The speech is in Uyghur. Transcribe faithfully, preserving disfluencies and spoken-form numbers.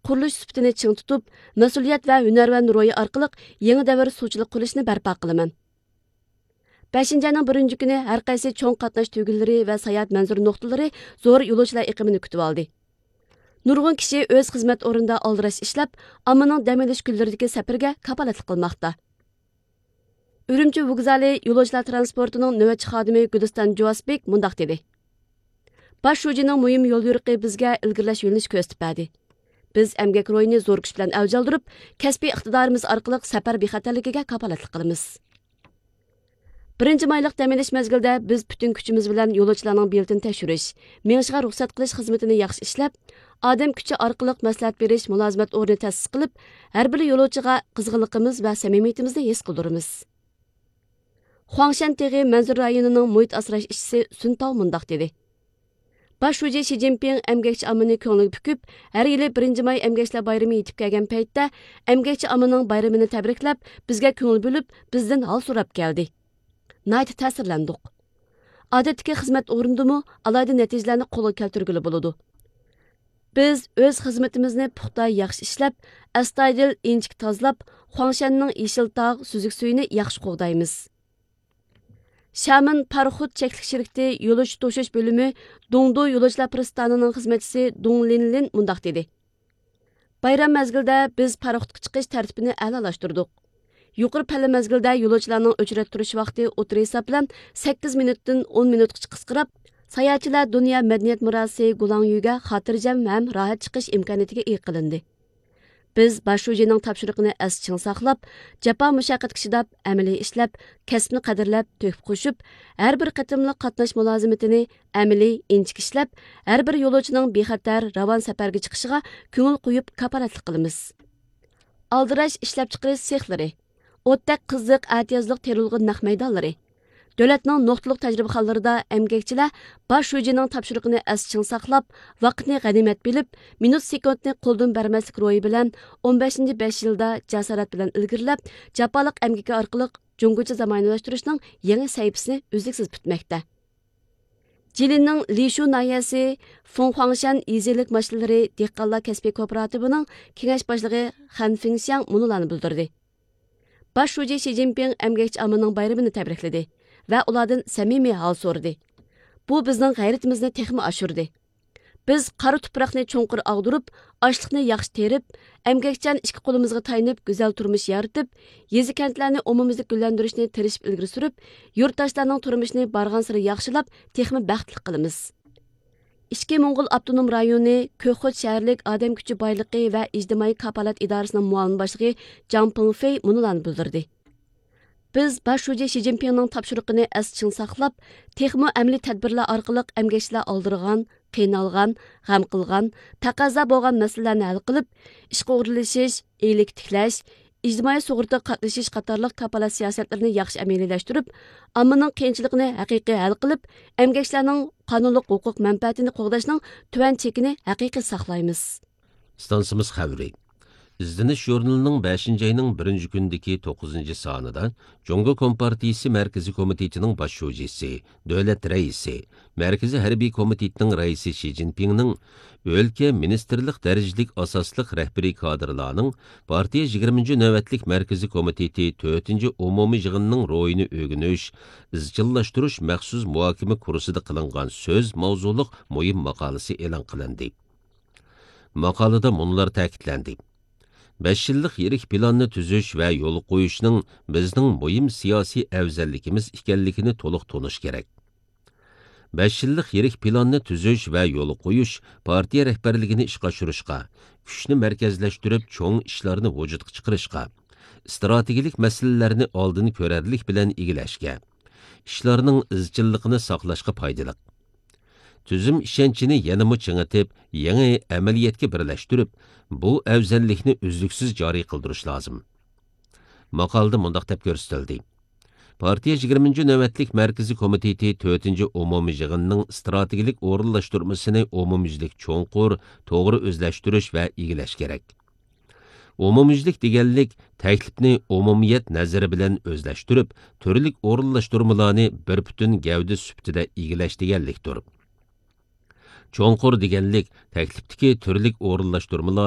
قۇرۇلۇش سۈپىتىنى چىڭ تۇتۇپ، مەسئۇلىيەت ۋە ھۈنەرۋەن روھى ئارقىلىق يېڭى دەۋر سۇچىلىق قۇرۇلۇشىنى بەرپا قىلىمەن. بەشىنچى ئاينىڭ بىرىنچى كۈنى ھەر قايسى چوڭ قاتناش تۈگۈنلىرى ۋە ساياھەت مەنزىرە نۇقتىلىرى زور يولۇچىلار ئېقىمىنى كۈتۈۋالدى. نۇرغۇن كىشى ئۆز خىزمەت ئورنىدا ئالدىراش ئىشلەپ، ئاممىنىڭ دەم ئېلىش كۈنلىرىدىكى سەپىرىگە كاپالەتلىك قىلماقتا. ئۈرۈمچى ۋوگزالى يولۇچىلار ترانسپورتىنىڭ نۆۋەتچى خادىمى گۈلىستان جۇۋاسبېك مۇنداق دېدى: باش شۇجىنىڭ مۇھىم يوليورۇقى بىزگە ئىلگىرىلەش يۆنىلىشى كۆرسىتىپ بەردى. بىز ئەمگەك روھىنى زور كۈچ بىلەن ئەۋج ئالدۇرۇپ، كەسپىي ئىقتىدارىمىز ئارقىلىق سەپەر بىخەتەرلىكىگە كاپالەتلىك قىلىمىز. بىرىنچى مايلىق دەم ئېلىش مەزگىلىدە بىز پۈتۈن كۈچىمىز بىلەن يولۇچىلارنىڭ بېلىتىنى تەكشۈرۈش، مېڭىشىغا رۇخسەت قىلىش خىزمىتىنى ياخشى ئىشلەپ، ئادەم كۈچى ئارقىلىق مەسلىھەت بېرىش مۇلازىمەت ئورنى تەسىس قىلىپ، ھەر بىر يولۇچىغا قىزغىنلىقىمىز ۋە سەمىمىيىتىمىزنى ھېس قىلدۇرىمىز. خۇاڭشەن تېغى مەنزىرە رايونىنىڭ مۇھىت ئاسراش ئىشچىسى سۈن تاۋ مۇنداق دېدى: باش شۇجى شى جىنپىڭ ئەمگەكچى ئاممىنى كۆڭلىگە پۈكۈپ، ھەر يىلى بىرىنچى ماي ئەمگەكچىلەر بايرىمى يېتىپ كەلگەن پەيتتە، ئەمگەكچى ئاممىنىڭ بايرىمىنى تەبرىكلەپ، بىزگە كۆڭۈل بۆلۈپ، بىزدىن ھال سوراپ كەلدى. ناھايىتى تەسىرلەندۇق. ئادەتتىكى خىزمەت ئورنىدىمۇ ئالاھىدە نەتىجىلەرنى قولغا كەلتۈرگىلى بولىدۇ. بىز ئۆز خىزمىتىمىزنى پۇختا ياخشى ئىشلەپ، ئەستايىدىل ئىنچىكە تازىلاپ، خۇاڭشەننىڭ يېشىل تاغ، سۈزۈك سۈيىنى ياخشى قوغدايمىز. شامېن پاراخوت چەكلىك شىركىتى يولۇچى توشۇش بۆلۈمى دۇڭدۇ يولۇچىلار پىرىستانىنىڭ خىزمەتچىسى دۇڭ لىنلىن مۇنداق دېدى: بايرام مەزگىلىدە بىز پاراخوتقا چىقىش تەرتىپىنى ئەلالاشتۇردۇق. يۇقىرى پەللە مەزگىلىدە يولۇچىلارنىڭ ئۆچرەت تۇرۇش ۋاقتى ئوتتۇرا ھېساب بىلەن سەككىز مىنۇتتىن ئون مىنۇتقىچە قىسقىراپ، ساياھەتچىلەر دۇنيا مەدەنىيەت مىراسى گۇلاڭيۈگە خاتىرجەم ھەم راھەت چىقىش ئىمكانىيىتىگە ئىگە قىلىندى. بىز باش شۇجىنىڭ تاپشۇرۇقىنى ئەستە چىڭ ساقلاپ، جاپا مۇشەققەتكە چىداپ، ئەمەلىي ئىشلەپ، كەسىپنى قەدىرلەپ، تۆھپە قوشۇپ، ھەر بىر قېتىملىق قاتناش مۇلازىمىتىنى ئەمەلىي، ئىنچىكە ئىشلەپ، ھەر بىر يولۇچىنىڭ بىخەتەر، راۋان سەپەرگە چىقىشىغا كۆڭۈل قويۇپ كاپالەتلىك قىلىمىز. ئالدىراش ئىشلەپچىقىرىش سېخلىرى، ئوتتەك قىزىق ئەتىيازلىق تېرىلغۇ نەق مەيدانلىرى، دۆلەتنىڭ نۇقتىلىق تەجرىبىخانىلىرىدا ئەمگەكچىلەر باش شۇجىنىڭ تاپشۇرۇقىنى ئەستە چىڭ ساقلاپ، ۋاقىتنى غەنىيمەت بىلىپ، مىنۇت سېكۇنتنى قولدىن بەرمەسلىك روھى بىلەن ئون بەشىنچى بەش يىلدا جاسارەت بىلەن ئىلگىرىلەپ، جاپالىق ئەمگىكى ئارقىلىق جۇڭگوچە زامانىۋىلاشتۇرۇشنىڭ يېڭى سەھىپىسىنى ئۈزلۈكسىز پۈتمەكتە. جىلىننىڭ لىشۇ ناھىيەسى فۇڭخۇاڭشەن يېزا ئىگىلىك ماشىنىلىرى دېھقانلار كەسپىي كوپىراتىپىنىڭ كېڭەش باشلىقى خەن فىڭشياڭ مۇنۇلارنى بىلدۈردى: باش شۇجى شى جىنپىڭ ئەمگەكچى ئاممىنىڭ بايرىمىنى تەبرىكلىدى ۋە ئۇلاردىن سەمىمىي ھال سورىدى. بۇ بىزنىڭ غەيرىتىمىزنى تېخىمۇ ئاشۇردى. بىز قارا تۇپراقنى چوڭقۇر ئاغدۇرۇپ، ئاشلىقنى ياخشى تېرىپ، ئەمگەكچان ئىككى قولىمىزغا تايىنىپ گۈزەل تۇرمۇش يارىتىپ، يېزا-كەنتلەرنى ئومۇميۈزلۈك گۈللەندۈرۈشنى تىرىشىپ ئىلگىرى سۈرۈپ، يۇرتداشلارنىڭ تۇرمۇشىنى بارغانسېرى ياخشىلاپ، تېخىمۇ بەختلىك قىلىمىز. ئىچكى موڭغۇل ئاپتونوم رايونى كۆكخوت شەھەرلىك ئادەم كۈچى بايلىقى ۋە ئىجتىمائىي كاپالەت ئىدارىسىنىڭ مۇئاۋىن باشلىقى جاڭ پېڭفېي مۇنۇلارنى بىلدۈردى: بىز باش شۇجى شى جىنپىڭنىڭ تاپشۇرۇقىنى ئەستە چىڭ ساقلاپ، تېخىمۇ ئەمەلىي تەدبىرلەر ئارقىلىق ئەمگەكچىلەر ئالدىرىغان، قىينالغان، غەم قىلغان، تەقەززا بولغان مەسىلىلەرنى ھەل قىلىپ، ئىشقا ئورۇنلىشىش، ئىگىلىك تىكلەش، ئىجتىمائىي سۇغۇرتىغا قاتنىشىش قاتارلىق كاپالەت سىياسەتلىرىنى ياخشى ئەمەلىيلەشتۈرۈپ، ئاممىنىڭ قىيىنچىلىقىنى ھەقىقىي ھەل قىلىپ، ئەمگەكچىلەرنىڭ قانۇنلۇق ھوقۇق مەنپەئەتىنى قوغداشنىڭ تۆۋەن چېكىنى ھەقىقىي ساقلايمىز. ئىستانسىمىز خەۋىرى. ئىزدىنىش ژۇرنىلىنىڭ بەشىنچى ئاينىڭ بىرىنچى كۈنىدىكى توققۇزىنچى سانىدا جۇڭگو كومپارتىيىسى مەركىزىي كومىتېتىنىڭ باش شۇجىسى، دۆلەت رەئىسى، مەركىزىي ھەربىي كومىتېتنىڭ رەئىسى شى جىنپىڭنىڭ ئۆلكە، مىنىستىرلىق دەرىجىلىك ئاساسلىق رەھبىرىي كادىرلارنىڭ پارتىيە يىگىرمىنچى نۆۋەتلىك مەركىزىي كومىتېتى تۆتىنچى ئومۇمىي يىغىنىنىڭ روھىنى ئۆگىنىش، ئىزچىللاشتۇرۇش مەخسۇس مۇھاكىمە كۇرسىدا قىلىنغان سۆز ماۋزۇلۇق مۇھىم ماقالىسى ئېلان قىلىندى. ماقالىدە مۇنۇلار تەكىتلەندى: بەش يىللىق يىرىك پىلاننى تۈزۈش ۋە يولغا قويۇشنىڭ بىزنىڭ مۇھىم سىياسىي ئەۋزەللىكىمىز ئىكەنلىكىنى تولۇق تونۇش كېرەك. بەش يىللىق يىرىك پىلاننى تۈزۈش ۋە يولغا قويۇش پارتىيە رەھبەرلىكىنى ئىشقا ئاشۇرۇشقا، كۈچنى مەركەزلەشتۈرۈپ، چوڭ ئىشلارنى ۋۇجۇدقا چىقىرىشقا، ئىستراتېگىيەلىك مەسىلىلەرنى ئالدىن كۆرەرلىك بىلەن ئىگىلەشكە، ئىشلارنىڭ ئىزچىللىقىنى ساقلاشقا پايدىلىق. تۈزۈم ئىشەنچىنى يەنىمۇ چىڭىتىپ، يېڭى ئەمەلىيەتكە بىرلەشتۈرۈپ، بۇ ئەۋزەللىكنى ئۈزلۈكسىز جارى قىلدۇرۇش لازىم. ماقالىدە مۇنداق دەپ كۆرسىتىلدى: پارتىيە يىگىرمىنچى نۆۋەتلىك مەركىزىي كومىتېتى تۆتىنچى ئومۇمىي يىغىنىنىڭ ئىستراتېگىيەلىك ئورۇنلاشتۇرمىسىنى ئومۇميۈزلۈك چوڭقۇر، توغرا ئۆزلەشتۈرۈش ۋە ئىگىلەش كېرەك. ئومۇميۈزلۈك دېگەنلىك تەكلىپنى ئومۇمىيەت نەزىرى بىلەن ئۆزلەشتۈرۈپ، تۈرلۈك ئورۇنلاشتۇرمىلارنى بىر پۈتۈن گەۋدە سۈپىتىدە ئىگىلەش دېگەنلىكتۇر. چوڭقۇر دېگەنلىك تەكلىپتىكى تۈرلۈك ئورۇنلاشتۇرمىلار